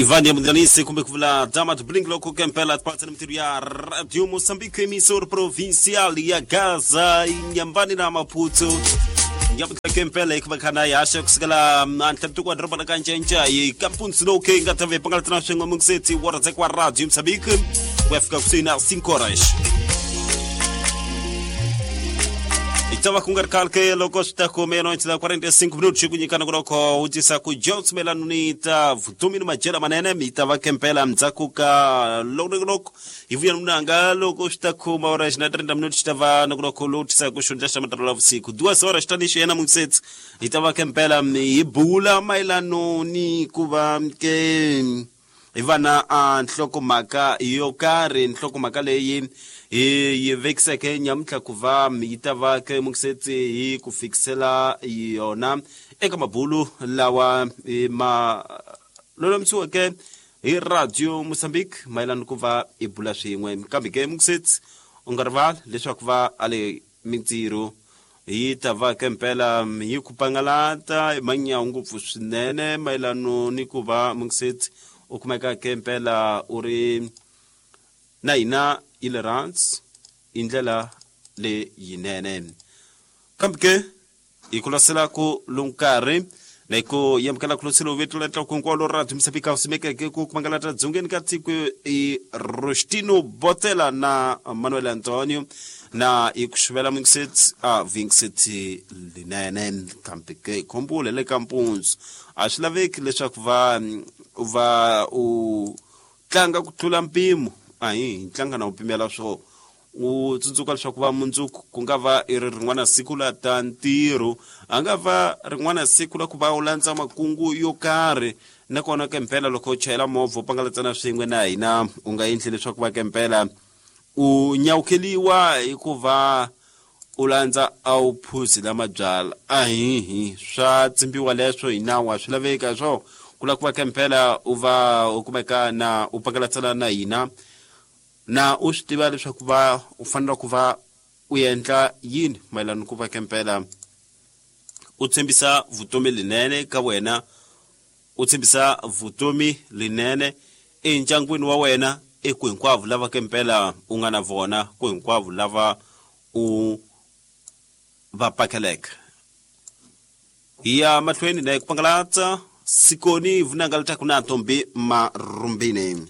Ivan Yamundanise kumbe ku vula Damat Blink loko kempela patsa na mintirho ya Radio Moçambique, emissor provincial ya Gaza, Inhambane na Maputo. Nyamutlha kempela hikuva khana ya haxa kusukela antlhantiko wa doroba la Kancenca hi kampunzi lowu ke nga ta ve pangalatana swin'we mungiseti wa rhandzeka wa Radio Moçambique ku ya fika kusuhi na 5 horas. Hi ta va ku nga ri khale ke loko swi ta ku meia-noite da 45 minutos ku nyikana ku loko u tisa ku Jones mayelana ni ta vutomi ni madyelo manene mi ta va kempela ndzhaku ka loko hi vuya ni munanga loko swi ta khoma horas na 30 minutos ta va na ku loko lowu tisaka ku xundla xa matirhelo ya vusiku duas horas ta ni xiyena mungisetsi hi ta va kempela hi bula mayelano ni ku va ke hi va na a nhlokomhaka yo karhi, nhlokomhaka leyi hi yi vekiseke nyamuntlha ku va yi ta va ke mungisetsi hi ku fikisela yona eka mabulu lawa ma lulamisiweke hi Radio Mozambique mayelana ku va hi bula swin'we. Kambe ke mungisetsi u nga rivali leswaku va ale mintirho yi ta va ke mpela yi ku pangalata hi manyawu ngopfu swinene mayelano ni ku va mungisetsi u kumeka ke mpela u ri na hina yi le rhansi hi ndlela leyinene. Kambe ke hi ku lasela ku lowu nkarhi na hi ku yamukela ku loselo vito la tlaku hinkwalo ra Msapika usimekeke ku kumangalata dzongeni ka tiko i Rostino Botela na Manuel Antonio na hi ku xuvela mingisetsi a vingisetsi linene. Kambe ke khombule le ka mpunzu a swi laveki leswaku va va u tlanga ku tlula mpimo, a hi tlanga na u pimela swo u tsundzuka leswaku va mundzuku ku nga va i ri rin'wana siku la ta ntirho, a nga va rin'wana siku la ku va u landza makungu yo karhi. Nakona ke mpela loko u chayela movha u pangalatsana swin'we na hina, u nga endli leswaku va ke mpela u nyawukeliwa hikuva u landza a wu phuzi la mabyala. Ahihi, swa tsimbiwa leswo hi nawu, a swi laveki swo ku lava ku va ke mpela u va u kumeka na u pangalatsana na hina na u swi tiva leswaku va u fanele ku va u endla yini mayelana ku va kempela u tshembisa vutomi linene ka wena, u tshembisa vutomi linene endyangwini wa wena, eku hinkwavo lava kempela u nga na vona, ku hinkwavo lava u va pakeleke. Hi ya mahlweni na ku pangalatsa sikoni vunanga letaku na Ntombi Marumbini.